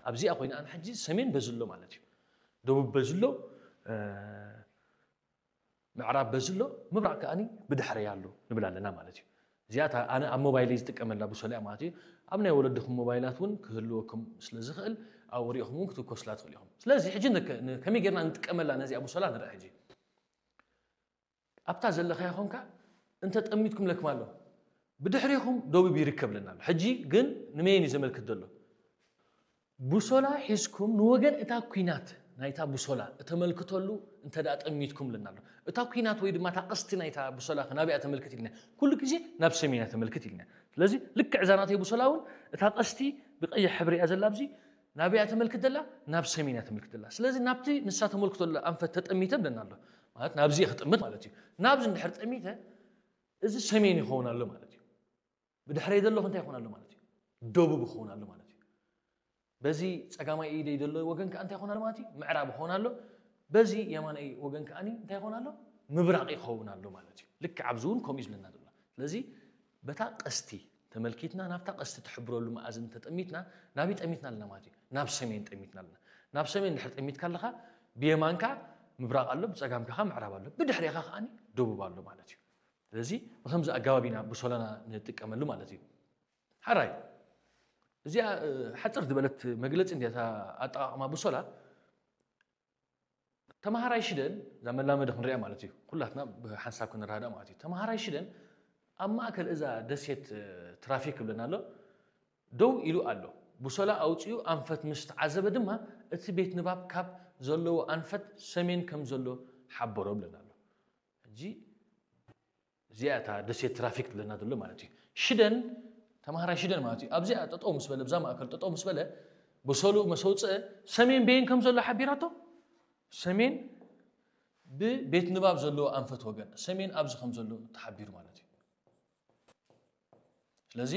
ኣብዚኣ ኮይና ኣነ ሕጂ ሰሜን በዚ ኣሎ ማለት እዩ። ደቡብ በዚ ኣሎ፣ ምዕራብ በዚ ኣሎ፣ ምብራቕ ከኣኒ ብድሕረይ ኣሎ ንብል ኣለና ማለት እዩ። እዚኣ ኣነ ኣብ ሞባይለይ ዝጥቀመላ ቡሶላ እያ ማለት እዩ። ኣብ ናይ ወለድኹም ሞባይላት እውን ክህልወኩም ስለ ዝኽእል ኣብኡ ሪኢኹም እውን ክትኮስላ ትኽእሉ ኢኹም። ስለዚ ሕጂ ከመይ ጌርና ንጥቀመላ ነዚኣ ቡሶላ ንርኢ ሕጂ። ኣብታ ዘለኻያ ኾንካ እንተ ጠሚትኩም ለክም ኣሎ። ብድሕሪኹም ደቡብ ይርከብ ለና ኣሎ። ሕጂ ግን ንመየን እዩ ዘመልክት ዘሎ? ቡሶላ ሒዝኩም ንወገን እታ ኲናት ናይታ ቡሶላ እተመልክተሉ እንተ ደኣ ጠሚትኩም ለና ኣሎ። እታ ኲናት ወይ ድማ እታ ቀስቲ ናይታ ቡሶላ ናበይ እያ ተመልክት ኢልና? ኩሉ ግዜ ናብ ሰሜን እያ ተመልክት ኢልና። ስለዚ ልክዕ እዛ ናተይ ቡሶላ እውን እታ ቀስቲ ብቀይሕ ሕብሪ እያ ዘላ ኣብዚ ናበይ እያ ተመልክት ዘላ? ናብ ሰሜን እያ ተመልክት ዘላ። ስለዚ ናብቲ ንሳ ተመልክቶ ዘላ ኣንፈት ተጠሚተ ብለና ኣሎ። ማለት ናብዚ እየ ክጥምት ማለት እዩ። ናብዚ እንድሕር ጠሚተ እዚ ሰሜን ይኸውን ኣሎ ማለት እዩ። ብድሕረይ ዘሎ እንታይ ይኾን ኣሎ ማለት እዩ? ደቡብ ይኸውን ኣሎ ማለት እዩ። በዚ ጸጋማይ ኢደይ ዘሎ ወገን ከኣ እንታይ ይኾን ኣሎ ማለት እዩ? ምዕራብ ይኸውን ኣሎ። በዚ የማናይ ወገን ከኣ እንታይ ይኾን ኣሎ? ምብራቕ ይኸውን ኣሎ ማለት እዩ። ልክዕ ኣብዚ እውን ከምኡ እዩ ዝብለና ዘሎ። ስለዚ በታ ቀስቲ ተመልኪትና ናብታ ቀስቲ ትሕብረሉ መኣዝን ተጠሚትና ናበይ ጠሚትና ኣለና ማለት እዩ? ናብ ሰሜን ጠሚትና ኣለና። ናብ ሰሜን ድሕር ጠሚትካ ኣለኻ ብየማንካ ምብራቕ ኣሎ፣ ብጸጋምካ ከዓ ምዕራብ ኣሎ፣ ብድሕሬኻ ከዓኒ ደቡብ ኣሎ ማለት እዩ። ስለዚ ብከምዚ ኣገባብ ኢና ብሶላና ንጥቀመሉ ማለት እዩ። ሓራይ እዚኣ እ፣ ሓፅር ዝበለት መግለፂ እንዲያ እታ ኣጠቓቕማ ብሶላ። ተምሃራይ ሽደን እዛ መላመዲ ክንሪኣ ማለት እዩ። ኩላትና ብሓንሳብ ክንረዳእ ማለት እዩ። ተምሃራይ ሽደን ኣብ ማእከል እዛ ደሴት እ፣ ትራፊክ ይብለና ኣሎ ደው ኢሉ ኣሎ። ብሶላ ኣውፂኡ ኣንፈት ምስ ተዓዘበ ድማ እቲ ቤት ንባብ ካብ ዘለዎ ኣንፈት ሰሜን ከም ዘሎ ሓበሮ ይብለና ኣሎ። ሕጂ እዚኣ እታ ደሴት ትራፊክ ትብለና ዘሎ ማለት እዩ። ሽደን ተምሃራይ ሽደን ማለት እዩ። ኣብዚኣ ጠጠው ምስ በለ ብዛ ማእከል ጠጠው ምስ በለ ብሶልኡ መሰውፅአ ሰሜን በየን ከም ዘሎ ሓቢራቶ ሰሜን ብቤት ንባብ ዘለዎ ኣንፈት ወገን ሰሜን ኣብዚ ከም ዘሎ ተሓቢሩ ማለት እዩ። ስለዚ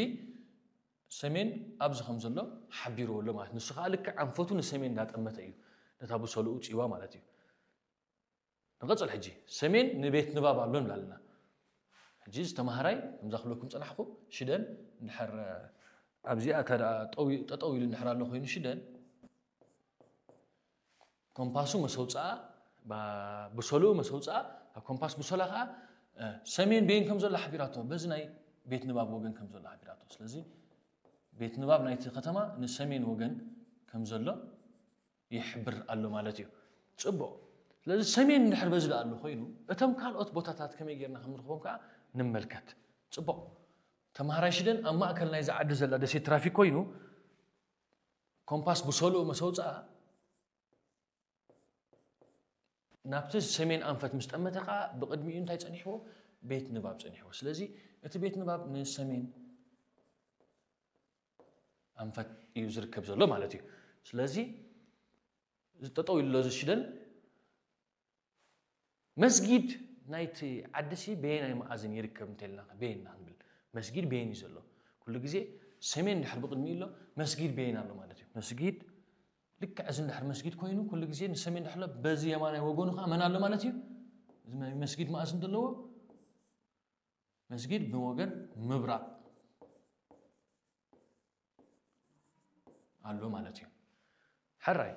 ሰሜን ኣብዚ ከም ዘሎ ሓቢርዎ ኣሎ ማለት ንሱ ከዓ ልክዕ ኣንፈቱ ንሰሜን እንዳጠመተ እዩ ነታ ብሶልኡ ውፅእዋ ማለት እዩ። ንቐፅል ሕጂ ሰሜን ንቤት ንባብ ኣሎ ንብላ ኣለና። ሕጂ ዝተምሃራይ ከምዛ ክብለኩም ፀናሕኩ ሽደን እንድሕር ኣብዚኣ እታ ደኣ ጠው- ጠጠው ኢሉ እንድሕር ኣሎ ኮይኑ ሽደን ኮምፓሱ መሰውፅኣ ባ- ብሶልኡ መሰውፅኣ ኣብ ኮምፓስ ብሶላ ከዓ እ፣ ሰሜን ቤን ከም ዘሎ ሓቢራቶ በዚ ናይ ቤት ንባብ ወገን ከም ዘሎ ሓቢራቶ ስለዚ ቤት ንባብ ናይቲ ከተማ ንሰሜን ወገን ከም ዘሎ ይሕብር ኣሎ ማለት እዩ። ፅቡቕ። ስለዚ ሰሜን እንድሕር በዚ ደኣ ኣሎ ኮይኑ እቶም ካልኦት ቦታታት ከመይ ጌርና ከም ንረኽቦም ከዓ ንመልከት። ፅቡቕ። ተምሃራይ ሽደን ኣብ ማእከል ናይዚ ዓዲ ዘላ ደሴት ትራፊክ ኮይኑ ኮምፓስ ብሶልኡ መሰውፅኣ ናብቲ ሰሜን ኣንፈት ምስ ጠመተ ከዓ ብቕድሚኡ እንታይ ፀኒሕዎ? ቤት ንባብ ፀኒሕዎ። ስለዚ እቲ ቤት ንባብ ንሰሜን ኣንፈት እዩ ዝርከብ ዘሎ ማለት እዩ። ስለዚ ጠጠው ኢሉ ዘሎ እዚ ሽደን መስጊድ ናይቲ ዓዲ ሲ በየናይ መኣዝን ይርከብ እንተልና በየና ክንብል መስጊድ በየን እዩ ዘሎ ኩሉ ግዜ ሰሜን ድሕር ብቅድሚ ኣሎ መስጊድ በየን ኣሎ ማለት እዩ መስጊድ ልክዕ እዚ ድሕር መስጊድ ኮይኑ ኩሉ ግዜ ንሰሜን ድሕር በዚ የማናይ ወገኑ ከዓ መን ኣሎ ማለት እዩ እዚ መስጊድ መኣዝን ዘለዎ መስጊድ ብወገን ምብራቅ ኣሎ ማለት እዩ። ሕራይ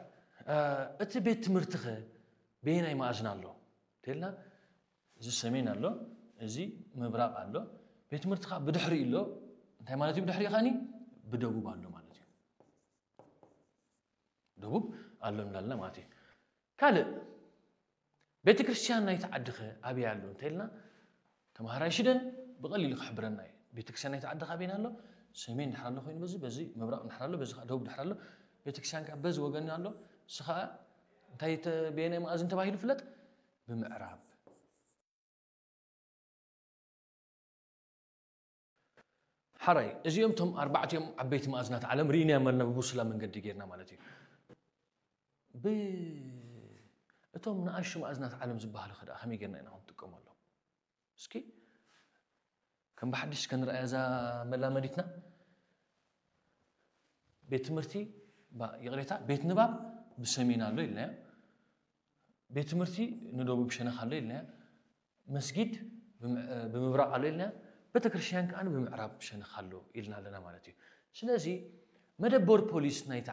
እቲ ቤት ትምህርትኸ በየናይ መኣዝን ኣሎ ተልና እዚ ሰሜን ኣሎ እዚ ምብራቅ ኣሎ ቤት ትምህርትኻ ብድሕሪ ኣሎ እንታይ ማለት እዩ ብድሕሪ ኻኒ ብደቡብ ኣሎ ማለት እዩ ደቡብ ኣሎ እንዳልና ማለት እዩ ካልእ ቤተ ክርስቲያን ናይቲ ዓድኸ ኣበይ ኣሎ እንተ ኢልና ተምሃራይ ሽደን ብቐሊሉ ክሕብረና እዩ ቤተ ክርስቲያን ናይቲ ዓድኻ ኣበይና ኣሎ ሰሜን ድሕር ኣሎ ኮይኑ በዚ በዚ ምብራቕ ድሕር ኣሎ በዚ ደቡብ ድሕር ኣሎ ቤተ ክርስቲያን ከዓ በዚ ወገን ኣሎ ንስኻ እንታይ በየናይ መኣዝን ተባሂሉ ፍለጥ ብምዕራብ ሓራይ እዚኦም ቶም ኣርባዕቲኦም ዓበይቲ መኣዝናት ዓለም ርኢናዮም ኣለና ብብሱላ መንገዲ ጌርና ማለት እዩ ብ እቶም ንኣሹ መኣዝናት ዓለም ዝበሃሉ ከ ከመይ ጌርና ኢና ክንጥቀመሎም እስኪ ከም ብሓድሽ ከንረኣያ እዛ መላመዲትና ቤት ትምህርቲ ይቕሬታ ቤት ንባብ ብሰሜን ኣሎ ኢልናዮ ቤት ትምህርቲ ንደቡብ ሸነኽ ኣሎ ኢልናዮ መስጊድ ብምብራቕ ኣሎ ኢልና ቤተክርስትያን ከዓ ብምዕራብ ሸነኽ ኣሎ ኢልና ኣለና ማለት እዩ ስለዚ መደበር ፖሊስ ናይቲ